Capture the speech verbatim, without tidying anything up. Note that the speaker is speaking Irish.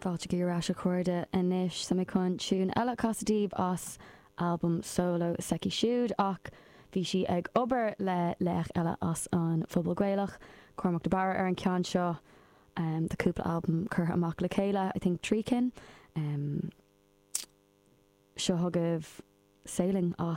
Fáilte ar ais a chairde anois tá mé chun tune eile a chasadh daoibh as album solo s'aici siúd ach bhí sí ag obair le laoch eile as an phobal Gaelach, Cormac de Barra ar an ceann seo um, tá cúpla album curtha amach le chéile, I think trí cinn. Um, seo chugaibh Sailing as